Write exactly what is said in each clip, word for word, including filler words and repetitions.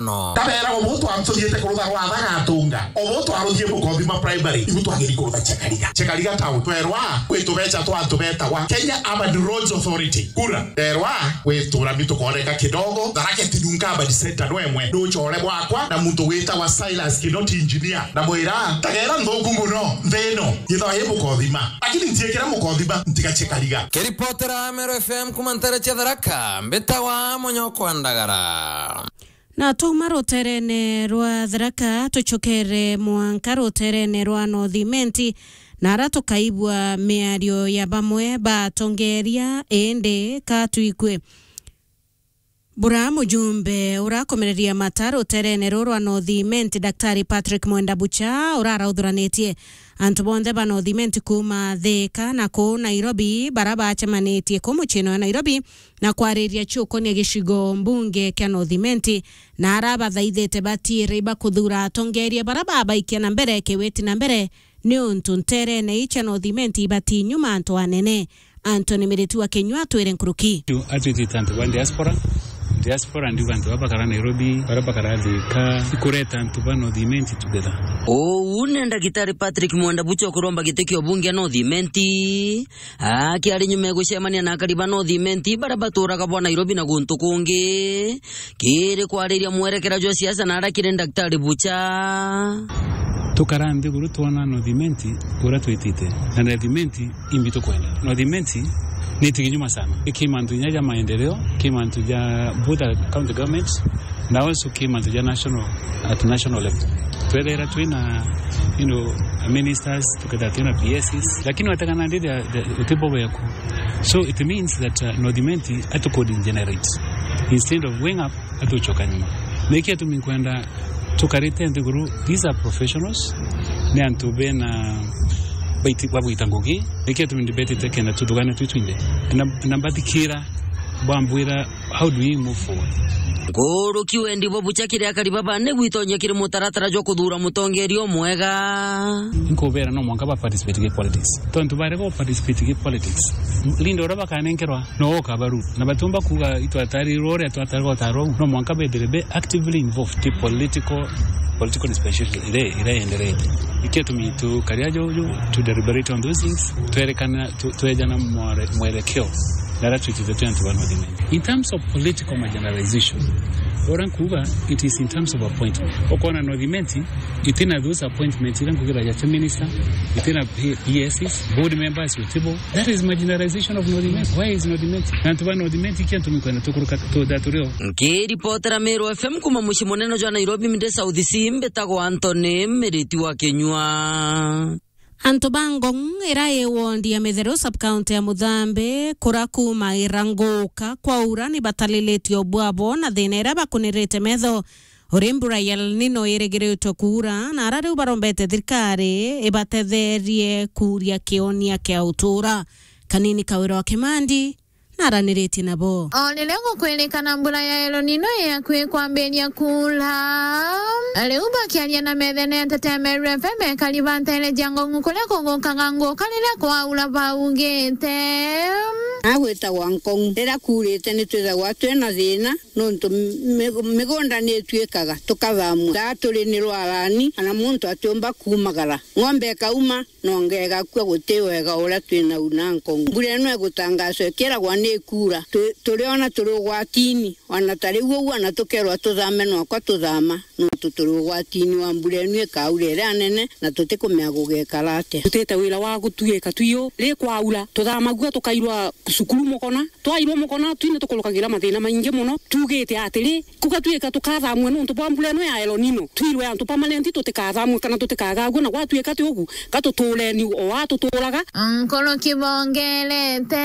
no. Tabeera, obu twantuthite kurutha rwatha gatunga, obu twaruthie Mukothima Primary, ibu twagiri kurutha Chekariga. Chekariga town, twerwa, kwi tubecha twa antu betagwa Kenya Urban Roads Authority, KURA. Nderwa, gwitura mi tukooneka kidogo, Tharaka Tinunka Urban Center no emwe, nduchore bwakwa, na muntu witagwa Silas Kinoti engineer, na mwira, tageera nthuku muno, nthi ino, yithagwa i Mukothima. Lakini ntiikira Mukothima, ntiga Chekariga. Kiripotera Meru F M kuma ntere cia Tharaka, mbitagwa Munyoko wa Ndagara. Na twauma ruteerene rwa Tharaka, tucokere mwanka ruteerene rwa North Imenti, na ara tukaigua miario ya bamwe ba atongeeria, indi ka twikue bura mujumbe urakomereria mata ruteerene ruru rwa North Imenti, Daktari Patrick Mwenda Bucha, urarauthuranite antu bonthe ba North Imenti kuuma Thika na kuu Nairobi, bara bacemanitie kuu muciine wa Nairobi, na kwariria ciukonia gicigo mbunge kia North Imenti, na arabathaithite batiire ibakuthuura atongeeria bara babaikia na mbere kiwiti na mbere, niuntu nteerene ii cia North Imenti ibati nyuma antu anene. Anthony Miriti wa Kinyua atwire nkuruki. Atwitite antu ba diaspora. Diaspora ndiuga antu baba bakara Nairobi, bara bakara Thika, ikureta antu ba North Imenti together. Uu ni Ndagitari Patrick Mwenda Bucha ukuromba giti kia ubunge North Imenti. Akiari nyuma ya gucemania na akari ba North Imenti bara baturaga bwa Nairobi na guntu kungi, kiri kwariria mwerekera jwa siasa na ara kiri Daktari Bucha. Tukara nthiguru twona North Imenti uria twitite, na North Imenti imbi tukwenda. North Imenti ni tigi nyuma sana. Ki mantu inya ja maendeleo, ki mantu ja both county government, na also ki mantu ja national, at national level. Twethera twina, you know, ministers, tukethera twina P S Cs, lakini wategana ndi the, the, utibo weku. So it means that, uh, North Imenti atuko degenerate. Instead of wing up, atuchoka nyuma. Niki atumi nkwenda tukarite nthiguru, these are professionals, ni antu bena baiti-, bagwita ngugi, niki atumi ndibetite kenda tuthugane twi twinthe. Na, na mbathikira, bambwira, how do we move forward? Nkuruki wendi bwa Bucha kiri akari baba ni gwitonyia kiri mutaratara jwa kuthuura mutongeeria umwega. Nkubera no mwanka ba participate ki politics. Tontu barega participate ki politics, leader uria bakanenkerwa no ukabaru. Na batiumba kuuga itwatarirwe uria twatarirwe utarwa uu. No mwanka bethire be actively involved ki political, political dispensation iria, iria yenderete. Ikio tumi tukaria juju, to deliberate on those things, twerekana, tu-, twejana mwere-, mwerekeo na aria twitite twi antu ba North Imenti. In terms of political marginalization, uria nkuuga, it is in terms of appointment. Ukoona North Imenti itina those appointments iria nkuugira ja minister, itina P-, P S Cs, board members utibo. That is marginalization of North Imenti. Where is North Imenti? Na antu ba North Imenti, ikio tumi nkwenda tukuruka tu-, that turio. Nkiripotera Meru F M kuma mucii munene jwa Nairobi, Mde South C, mbitagwa Anthony Miriti wa Kinyua. Antu ba Ngong, ira i ward ya Mitheru, sub-county ya Muthambi, kura kuuma ira nguka kwaura, ni batalilitie ubwabo na thina iria bakunirite metho. Uri mbura ya El Nino irigiritwe kuura, na ara riu barombete thirikari ibatetherie kuuria kionia kia utuura. Kanini Kawira wa Kimandi, naraniritie nabo. O riria gukwirikana mbura ya El Nino yakui kwambiria kuura, riu bakiaria na methene ya Nteto ya Meru F M, ekari ba ntere cia Ngong kuria kugukaga nguka riria kwaura baugite. Agwitagwa Ngong, riria kuurite ni twithagwa twina thina, nontu mi-, migunda ni itwikaga tukathamua. Gaa turi ni rwarani, kana muntu atiumba kuumagara. Ng'ombe ikauma, nonga igakua, guti wega uria twinau na Ngong. Mbura ino igutangaswa ikiragwa ni ikuura. Tu-, turiona turi ugwatini, ona ta riu uu, ona tukerwa tuthame, nwakwa tuthama, nontu turi ugwatini wa mbura ino ikaura iria nene, na tutikumenya gugekara atia. Tutite wira wa gutuika tuiu, ri kwaura, tuthamagua tukairwa cukuru mukona, twairwa mukona, twine tukurukagira mathina maingi muno. Tuugite atiri, kuga twika tukathamue nontu bwa mbura ino ya El Nino, twirwe antu permanent tutikathamue kana tutikagagua, na gwatuika ti ugu, ka tutureni o aa tuturaga. Nkuru kibongerete.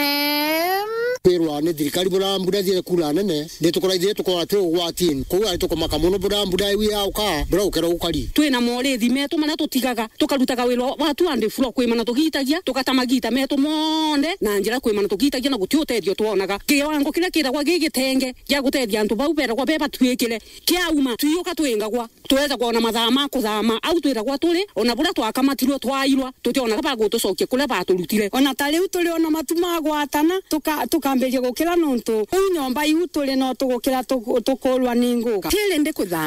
Kwirwa ni thirikari bura mbura thire kuura nene, ni tukuraithire tukorwa twi ugwatini. Kou ari tukumaka muno bura mbura iu yauka, bura gukera gukari. Twina morithi metu maria tutigaga, tukarutaga wira wa tu and fro kwimana tugitagia, tugata magita metu monthe na njira kwimana tugitagia. Agia na guti utethio twonaga. Kiwango kiria kiragwa gi gitenge gia gutethia antu bau beragwa be batuikire, kiauma, twiuka twingagwa. Tweza kwona mathaa ma kuthama, au twiragwa turi, ona buria twakamatirwe twairwa, tutionaga ba gutucokia kuria baturutire. Ona ta riu turi ona matu ma gwatana, tuka-, tukambiria gukira nontu uu nyomba iu turi no tugukira tu-, tukurwa ni nguka. Tiri ndi kuthama.